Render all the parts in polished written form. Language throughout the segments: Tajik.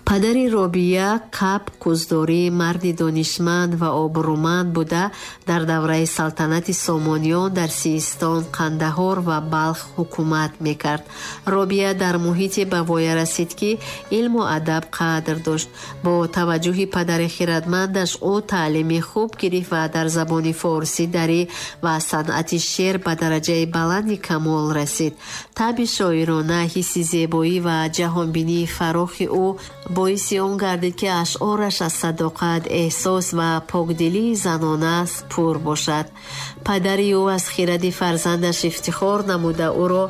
Падари Робия Каб Куздорӣ марди донишманд ва обрӯманд буда, дар давраи салтанати Сомониён дар Систон, Қандаҳор ва Балх ҳукумат мекард. Робия дар муҳите ба воя расид, ки илму адаб қадр дошт. Бо таваҷҷӯҳи падари хирадмандаш ӯ таълими хуб гирифт ва дар забони форсӣ, дарӣ ва санъати шеър ба дараҷаи баланди камол расид. Табъи шоирона, ҳисси зебоӣ ва ҷаҳонбинии фарохи ӯ боиси он гардид, ки ашъораш аз садоқат, эҳсос ва покдилии занона пур бошад. Падари ӯ аз хиради фарзандаш ифтихор намуда, ӯро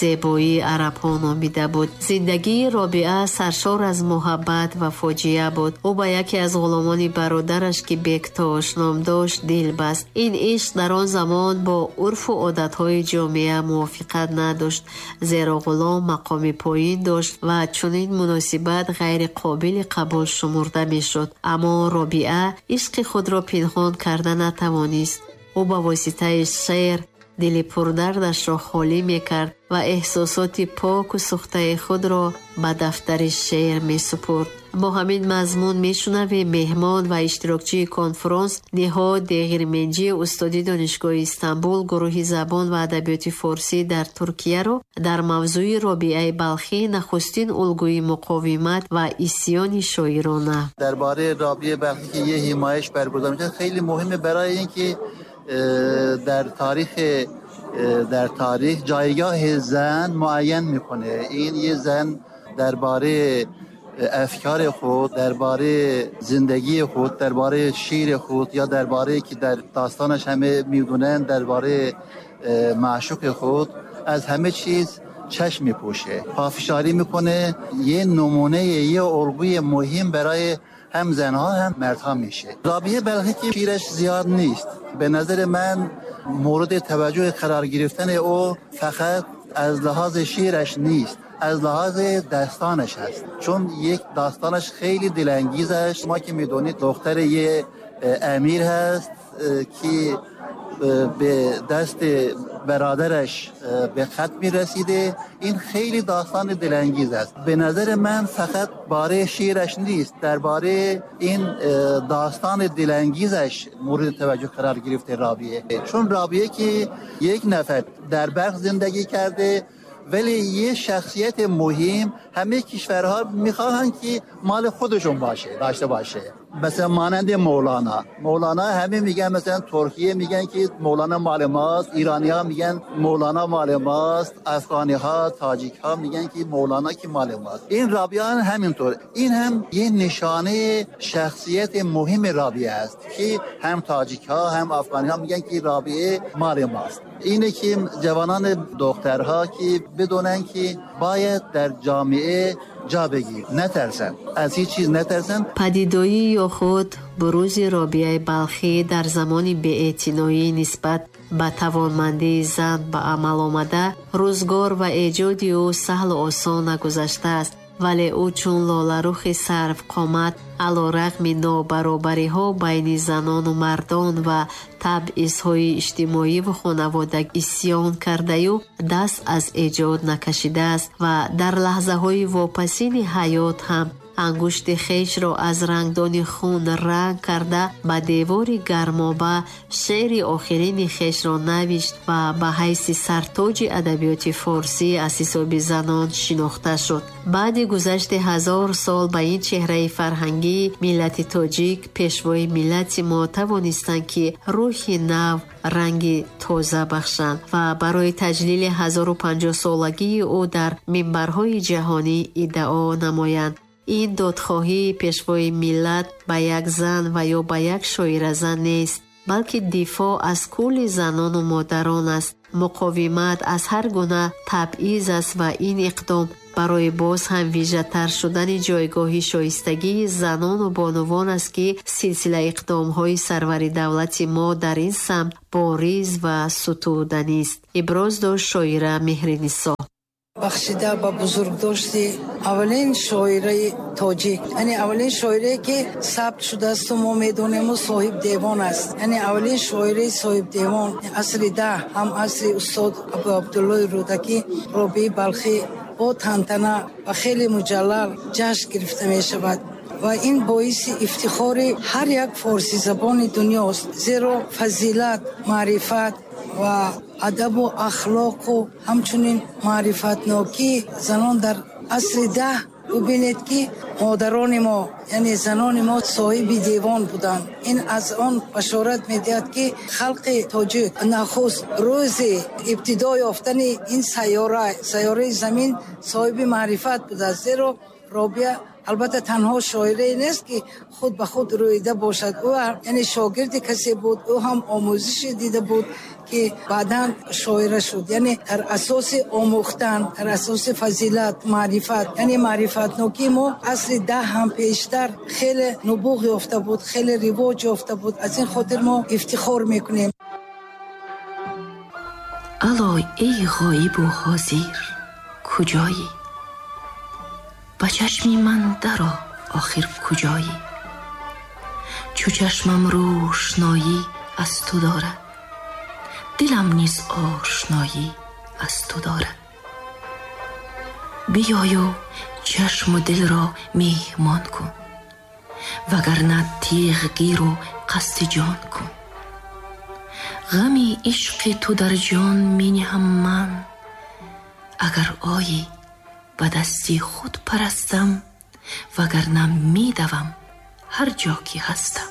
зебоии арабҳо номида буд. Зиндагии Робиа саршор аз муҳаббат ва фоҷиа буд. Ӯ ба яке аз ғуломони бародараш, ки Бектош ном дошт, дил баст. Ин ишқ дар он замон бо урфу одатҳои ҷомеа мувофиқат надошт, зеро ғулом мақоми поин дошт ва чунин муносибат ғайриқобили қабул шумурда мешуд. Аммо Робиа ишқи худро пинҳон карда натавонист. Ӯ ба воситаи шеър дили пурдардашро холӣ мекард ва эҳсосоти поку сӯхтаи худро ба дафтари шеър месупурд. Бо ҳамин мазмун мешунавем меҳмон ва иштирокчии конфронс Ниҳод Деғирменҷӣ, устоди Донишгоҳи Истанбул, гурӯҳи забон ва адабиёти форсӣ дар Туркияро дар мавзӯи Робиаи Балхӣ, нахустин улгӯи муқовимат ва исьёни шоирона. درباره رابعه بلخی که یه همایش برگزار میشه خیلی مهمه، برای اینکه در تاریخ جایگاه زن معین میکنه. این یه زن درباره افکار خود، درباره زندگی خود، درباره شعر خود یا درباره که در داستانش همه میدونن، درباره معشوق خود از همه چیز چشم میپوشه، پافشاری میکنه. یه نمونه، یه الگوی مهم برای هم زنها هم مردها میشه. رابعه بلخی که شعرش زیاد نیست، به نظر من مورد توجه قرار گرفتن او فقط از لحاظ شعرش نیست، از لحاظ داستانش هست، چون یک داستانش خیلی دلانگیز است. ما که میدونید دختر یه امیر هست که به دست برادرش به قتل میرسیده. این خیلی داستان دلانگیز است. به نظر من فقط باره شعرش نیست، درباره این داستان دلانگیزش مورد توجه قرار گرفته رابعه، چون رابعه که یک نفر در بلخ زندگی کرده ولی یه شخصیت مهم، همه کشورها میخواهند که مال خودشون باشه، داشته باشه. مثلا مانند مولانا. مولانا همه میگن، مثلا ترکیه میگن که مولانا مال ماست، ایرانی ها میگن مولانا مال ماست، افغانی ها، تاجیک ها میگن که مولانا که مال ماست. این رابعه هم همینطور. این هم یه نشانه شخصیت مهم رابعه است که هم تاجیک ها هم افغانی ها میگن که رابعه مال ماست. اینه که جوانان دخترها که بدونن که باید در جامعه جا بگیر، نترسن، از هیچ چیز نترسن. Падидоӣ ё худ бурузи Робиаи Балхӣ дар замони беэътиноӣ нисбат ба тавонмандии зан ба амал омада, рӯзгор ва эҷоди ӯ саҳлу осон нагузаштааст, вале ӯ чун лоларухи сарвқомат алорағми нобаробариҳо байни занону мардон ва табъизҳои иҷтимоиву хонаводагӣ исьён кардаю даст аз эҷод накашидааст ва дар лаҳзаҳои вопасини ҳаёт ҳам ангушти хешро аз рангдони хун ранг карда, ба девори гармоба шеъри охирини хешро навишт ва ба ҳайси сартоҷи адабиёти форсӣ аз ҳисоби занон шинохта шуд. Баъди гузашти 1000 сол ба ин чеҳраи фарҳангии миллати тоҷик пешвои миллати мо тавонистанд, ки рӯҳи нав, ранги тоза бахшанд ва барои таҷлили 1050-солагии ӯ дар минбарҳои ҷаҳонӣ иддао намоянд. Ин додхоҳии пешвои миллат ба як зан ва ё ба як шоиразан нест, балки дифоъ аз кулли занону модарон аст, муқовимат аз ҳар гуна табъиз аст ва ин иқдом барои боз ҳам вижатар шудани ҷойгоҳи шоистагии занону бонувон аст, ки силсила иқдомҳои сарвари давлати мо дар ин самт бориз ва сутуданист, иброз дошт шоира Меҳринисо. Бахшида ба бузургдошти аввалин шоираи тоҷик, яъне аввалин шоирае, ки сабт шудаасту мо медонему соҳиб девон аст, яъне аввалин шоираи соҳиб девон, асри 10, ҳам асри устод Абу Абдуллои Рӯдакӣ, Робии Балхӣ. бо тантана ва хеле муҷаллал ҷашн гирифта мешавад ва ин боиси ифтихори ҳар як форсизабони дунёст, зеро фазилат, маърифат ва адабу ахлоқу ҳамчунин маърифатнокии занон дар асри 10 бубинед, ки модарони мо, яъне занони мо, соҳиби девон буданд. Ин аз он башорат медиҳад, ки халқи тоҷик нахуст рӯзи ибтидо ёфтани ин сайёра, сайёраи замин, соҳиби маърифат будааст, зеро Робия албатта танҳо шоирае нест, ки худ ба худ рӯида бошад. Ӯ яъне шогирди касе буд, ӯ ҳам омӯзише дида буд, ки баъдан шоира шуд, яъне дар асоси омӯхтан, дар асоси фазилат, маърифат. Яъне маърифатнокии мо асри 10 ҳам пештар хеле нубуғ ёфта буд, хеле ривоҷ ёфта буд. Аз ин хотир мо ифтихор мекунем. Ало, эй ғоибу ҳозир, куҷоӣ? Ба чашми ман даро, охир куҷоӣ? Чу чашмам рӯшноӣ аз ту дорад, дилам низ ошноӣ аз ту дорад. Биёю чашму дилро меҳмон кун, вагарна теғ гиру қасди ҷон кун. Ғами ишқи ту дар ҷон мениҳам ман, агар оӣ, ба дасти худ парастам, вагарна медавам ҳар ҷо ки ҳастам.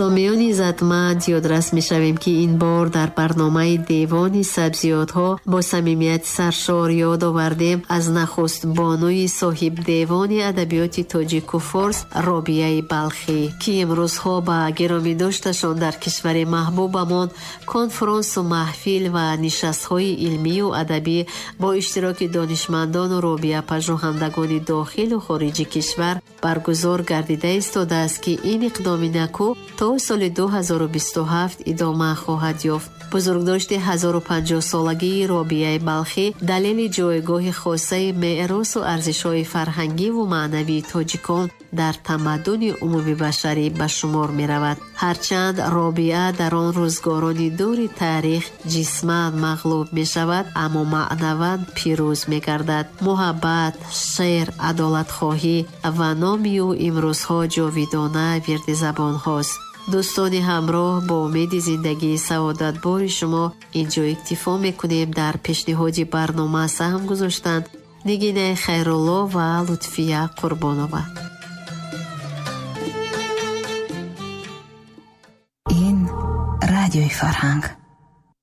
Сомиёни иззатманд, ёдрас мешавем, ки ин бор дар барномаи Девони сабзиётҳо бо самимияти саршор ёд овардем аз нахуст бонуи соҳибдевони адабиёти тоҷику форс Робияи Балхӣ, ки имрӯзҳо ба гиромидошташон дар кишвари маҳбубамон конфронсу маҳфил ва нишастҳои илмию адабӣ бо иштироки донишмандону робияпажӯҳандагони дохилу хориҷи кишвар баргузор гардида истодааст, ки ин иқдоми накӯ то соли 2027 идома хоҳад ёфт. Бузургдошти 1050-солагии Робияи Балхӣ далели ҷойгоҳи хосаи меросу арзишҳои фарҳангиву маънавии тоҷикон дар тамаддуни умумибашарӣ ба шумор меравад. Ҳарчанд Робиа дар он рӯзгорони дури таърих ҷисман мағлуб мешавад, аммо маънаван пирӯз мегардад. Муҳаббат, шеър, адолатхоҳӣ ва номи ӯ имрӯзҳо ҷовидона вирди забонҳост. Дӯстони ҳамроҳ, бо умеди зиндагии саодатбори шумо инҷо иктифо мекунем. Дар пешниҳоди барнома саҳм гузоштанд Нигинаи Хайрулло ва Лутфия Қурбонова. Ин радиои Фарҳанг.